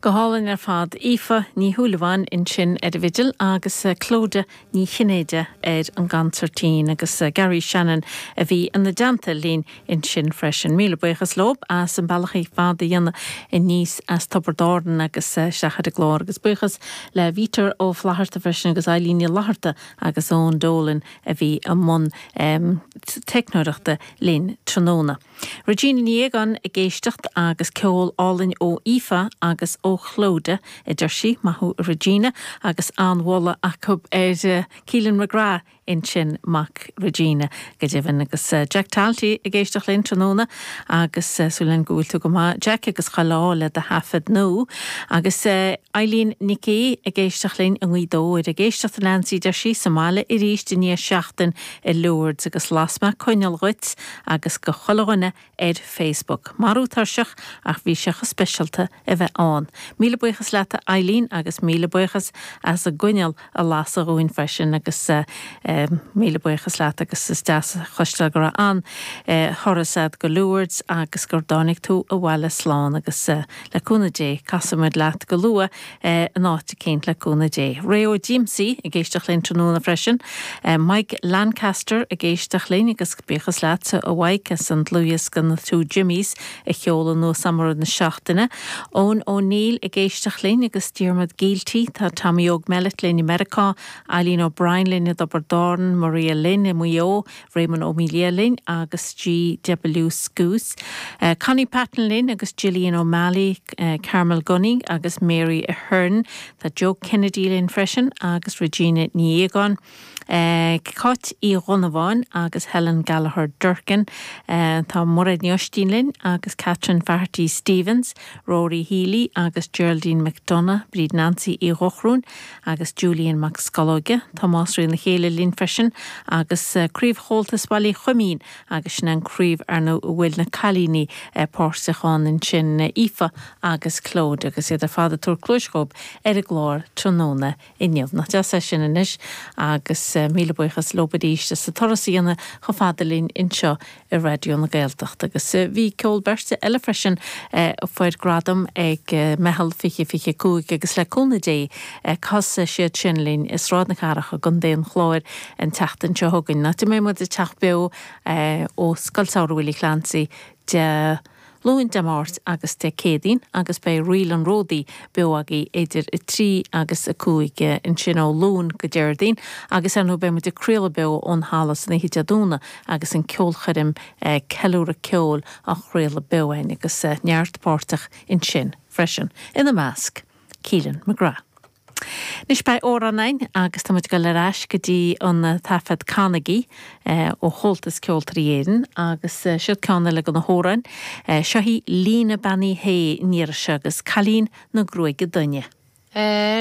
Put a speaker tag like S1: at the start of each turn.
S1: Go hálainn ar fad. Aoife Ní Shúilleabháin ansin ar an bhfidil agus Clodagh Ní Chinnéide ar an gconsairtín agus Garry Shannon a bhí ina dteannta linn ansin freisin. Míle buíochas leo as an bealach fada a dhéanamh aníos as Tiobraid Árann agus isteach ar an gclár agus buíochas le Peter Ó Flatharta freisin agus Eileen Ní Fhlatharta agus Eoin Dolan a bhí i mbun teicneoireachta linn tráthnóna. Regina Ní Aogáin ag éisteacht agus ceol álainn ó Aoife agus ó Chlodagh, a deir sí. Maith thú a Regina agus an-mholadh acu ar Keelan McGrath ansin, mac Regina, go deimhin. Agus Jack Talty ag éisteacht linn tráthnóna agus súil againn go bhfuil tú go maith Jack agus chuile ádh le do thaifead nua. Agus Eileen Nic Aoidh ag éisteacht linn i nGaoth Dobhair. Ag éisteacht a Neansaí, deir sí, sa mbaile arís i ndiaidh seachtain i Lourdes agus las mé coinneal dhuit agus go chuile dhuine ar Facebook. Marú tuirseach ach bhí sé chomh speisialta a bheith ann. Míle buíochas leat a Eileen agus míle buíochas as an gcoinneal a lasadh dhúinn freisin agus míle buíochas leat agus is deas a chloisteáil go raibh an-thuras a'd go Lourdes agus gur dtáinig tú abhaile slán agus le cúnamh Dé casfaidh muid leat go luath in áit eicínt le cúnamh Dé. Ray Ó Díomsaí ag éisteacht linn tráthnóna freisin. Mike Lancaster ag éisteacht linn agus buíochas leatsa a Mhaidhc as an dlúthdhiosca Na Two Jimmies a sheoladh anuas a'm i rith na seachtaine. Eoin O'Neill ag éisteacht linn agus Diarmuid Gielty. Tá Tommy Óg Mellett linn i Meiriceá, Eileen O'Brien linn i dTiobraid Árann, Maria Lynn i Maigh Eo, Raymond Ó Mília linn agus G.W. Scoose, Connie Patton linn agus Gillian O'Malley, Carmel Gunning agus Mary Ahern. Tá Joe Kennedy linn freisin agus Regina Ní Aogáin, Cáit Uí Dhonnabháin agus Helen Gallagher Durkin. Tá Mairéad Ní Oistín linn agus Catherine Faherty Stevens, Rory Healy agus Geraldine McDonagh, Bríd Nancy Uí Dhochróin, agus Julian Mac Scolóige, Tomás Rí na Chéile linn freisin agus Craobh Chomhaltas Bhaile Choimín agus sin an craobh ar ndóigh a bhfuil na cailíní páirteach ann ansin, Aoife agus Clodagh agus iad ar fad ag tabhairt cluais dhóibh ar an gclár tráthnóna inniu. Nach deas é sin anois agus míle buíochas leob arís as an turas a dhéanamh chomh fada linn anseo i Raidió na Gaeltachta. Agus bhí ceol beirte eile freisin a fuair gradam ag Meitheal 2025 agus le cúnamh Dé casfaidh siad sin linn i Sráid na Cathrach i gContae an Chláir an tseachtain seo chugainn, áit a mbeidh muid ag teacht beo ó Scoil Samhraidh Willie Clancy Dé Luain, Dé Máirt agus Dé Céadaoin agus beidh Ríl an Ródaí beo agaibh idir 3 agus 5 ansin ó Luan go Déardaoin agus ar ndóigh beidh muid ag craoladh beo ón halla san oíche Dé Domhnaigh agus an ceolchoirm Ceiliúradh Ceoil á chraoladh beo againn agus neart páirteach ansin freisin, ina measc Keelan McGrath. Anois beidh amhrán againn agus tá muid ag dul ar ais go dtí an taifead Canaigí ó Chomhaltas Ceoltóirí Éireann agus siod ceann eile de na hamhráin. Seo í Lena Bean Uí Shé an iarraidh seo agus Cailín na Gruaige Doinne.